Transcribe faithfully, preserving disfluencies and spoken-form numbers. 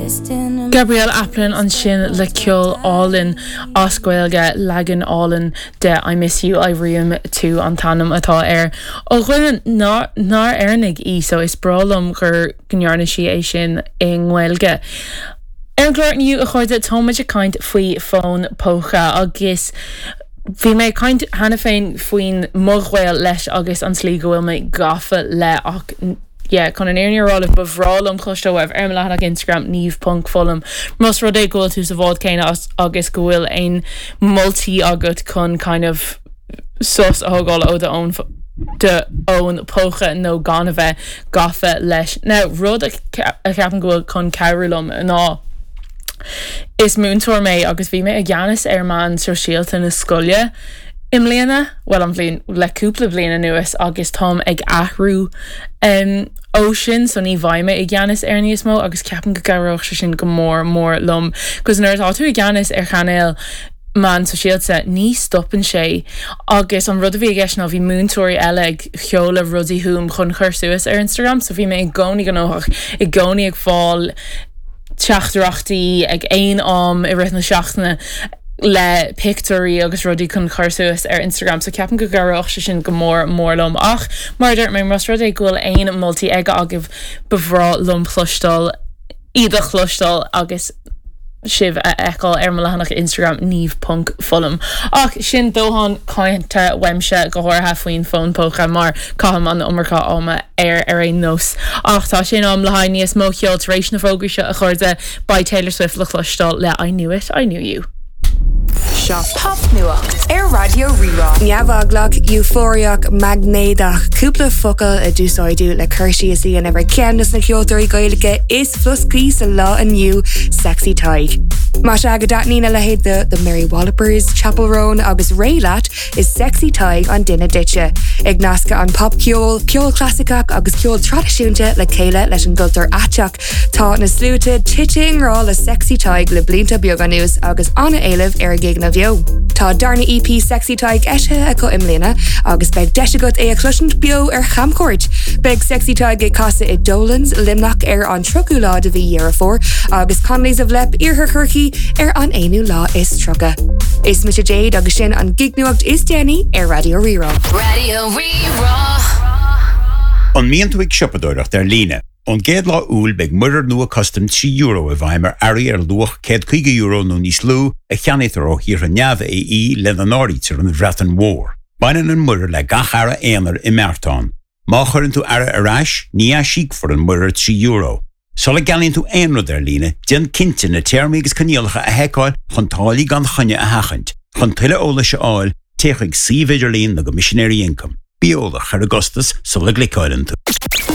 Gabrielle Aplin ansin le ceol álainn as Gaeilge leagan álainn de I Miss You Airím Tú an t-ainm atá air. Ó dhuine nach Éireannach í so is breá liom gur ndearna sí é sin i nGaeilge. Ar an gclár inniu a chairde táimid ag caint faoi fón póca agus Bhí mé caint cheana féin faoin mo ghaol leis agus an tslí go bhfuil mé gafa le ach yeah, chun an fhírinne a rá ba bhreá liom cloisteáil uaibh ar leathanach Instagram niamh ponc foghlaim. Más rud é go bhfuil tú sa bhád céanna agus go bhfuil aon moltaí agat chun kind of sos a thógáil ó do d'fhón póca nó gan a bheith gafa leis. Now rud a cheapann go bhfuil chun cabhrú liom ná Is múinteoir mé agus bhí mé i gceannas ar meán sóisialta na scoile i mbliana well an bhliain le cúpla bliain anuas agus táim ag athrú um, ó sin so ní bheidh mé i gceannas ar níos mó agus ceapaim go gcabhródh sé sin go mór mór liom, 'cause nuair atá tú i gceannas ar chainéal meán sóisialta ní stopann sé agus an rud a bhí i gceist ná bhí múinteoirí eile ag seoladh rudaí chugam chun chur suas ar Instagram, so bhí mé i gcónaí gnóthach i gcónaí ag fáil teachtaireachtaí ag aon am i rith na seachtaine le pictiúirí agus rudaí chun chur suas ar Instagram, so ceapaim go gcabhródh sé sin go mór mór liom ach mar dúirt mé más rud é go bhfuil aon moltaí ag agaibh ba bhreá liom cloisteáil iad a chloisteáil agus sibh a fheiceáil ar mo leathanach Instagram niamh ponc foghlaim. Ach sin dóthain cainte uaimse go háirithe faoin fón póca mar caithim an iomarca ama ar ar aon nós. Ach tá sé in am le haghaidh níos mó ceoil tar éis na bhfógraí seo a chairde beidh Taylor Swift le cloisteáil le I Knew It, I Knew You. Seo Popnuacht ar Raidió Rí-Rá. Neamheaglach, eufóriach, maighnéadach, cúpla focal a d'úsáideadh le cur síos a dhéanamh ar cheann de na ceoltóirí Gaeilge is floscaí sa lá inniu Sexy Tadhg. Más ea go dtaitníonn a leithéid de The Mary Wallopers, Chappell Roan agus Raye leat is Sexy Tadhg an duine duitse. Ag nascadh an popcheol, ceol clasaiceach agus ceol traidisiúnta le chéile leis an gcultúr aiteach. Tá na sluaite tite i ngrá le Sexy Tadhg le blianta beaga anuas agus an-éileamh ar a gigeanna beo. Tá darna EP Sexy Tadhg eisithe acu i mbliana agus beidh deis agat é a chloisint beo ar chamchuairt. Beidh Sexy Tadhg ag casadh i Dolan's Luimneach ar an tríochú lá de mhí Dheireadh Fómhair agus Connolly's of Leap Iarthar Chorcaí ar an aonú lá is tríocha. Is mise Jade agus sin an gignuacht is déanaí ar Raidió Rí-Rá. Raidió Rí-Rá. An mbíonn tú ag siopadóireacht ar líne. Ón gcéad lá Iúil beidh muirear nua custaim trí euro i bhfeidhm ar earraí ar luach céad caoga euro nó níos lú a cheannaítear ó thíortha neamh-AE lena n-áirítear an Bhreatain Mhór. Baineann an muirear le gach earra aonair i mbeartán. Má chuireann tú earra ar ais, ní aisíocfar an muirear trí euro. Sula gceannaíonn tú aon rud ar líne, déan cinnte na téarmaí agus coinníollacha a sheiceáil chun táillí gan choinne a sheachaint. Chun tuilleadh eolais a fháil, téigh chuig suíomh idirlín na gCoimisinéirí Ioncaim. Bí eolach ar an gcostas sula gcliceálann tú.